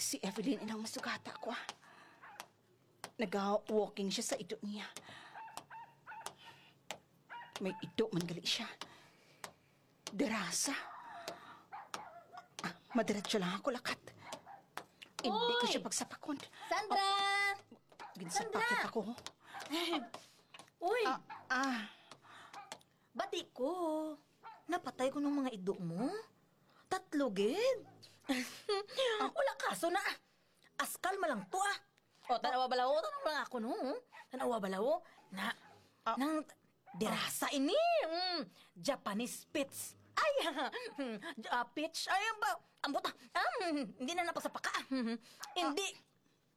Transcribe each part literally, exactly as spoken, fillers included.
Si Evelyn inang masugata ko, ah. Naga-walking siya sa ido niya. May ido man gali siya. Derasa. Ah, madiretso lang ako lakat. Hindi ko Oy! siya pagsapakon. Sandra! Ginsapakit Sandra! ako. Uy! Ah, ah. Bati ko. Napatay ko ng mga ido mo. Tatlo gid. Wala kaso na. Askal malang to, ah. O, tanawa balawo, tanawa lang ako, no? Tanawa balawo, na, Ah. nang derasa ini. Mm, Japanese spitz. Ay, ah, peach. Ay, ang ba, ang buta. Ah, mm, hindi na napasapaka. Mm, hindi.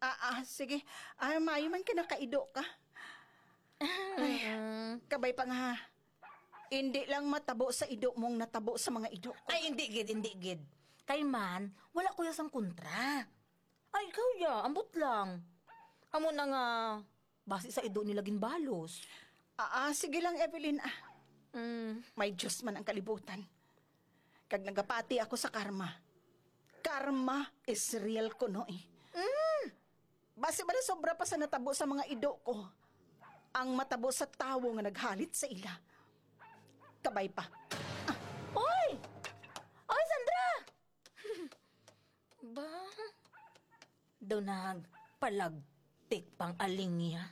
Ah, ah, sige. Ah, maayo man ka nakaido ka. Ay, Mm. kabay pa nga. Hindi lang matabo sa ido mong natabo sa mga ido ko. Ay, hindi gid, hindi gid. Kay man, wala ko sang kontra. Ay, ikaw ya, ambot lang. Amo na nga, basi sa ido nila ginbalos. Ah, ah, sige lang, Evelyn, ah. Mm. May Diyos man ang kalibutan. Kag nagapati ako sa karma. Karma is real kuno, eh. Mm. Basi ba sobra pa sa natabo sa mga ido ko ang matabo sa tawo nga naghalit sa ila? Kabay pa. Oy! Oy, Sandra! Ba? Daw nagpalagtik pang alingya.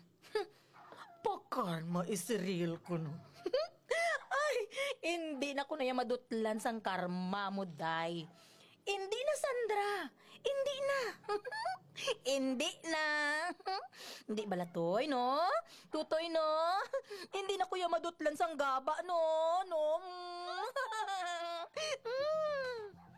Pakarma is real kuno. Ay, hindi na ko na iya madutlan sang karma mo, day. Hindi na, Sandra. Hindi na. Hindi na. Hindi bala, Toy, no? Tutoy, no? Hindi na ko iya madutlan sang gaba, no? No? Mm.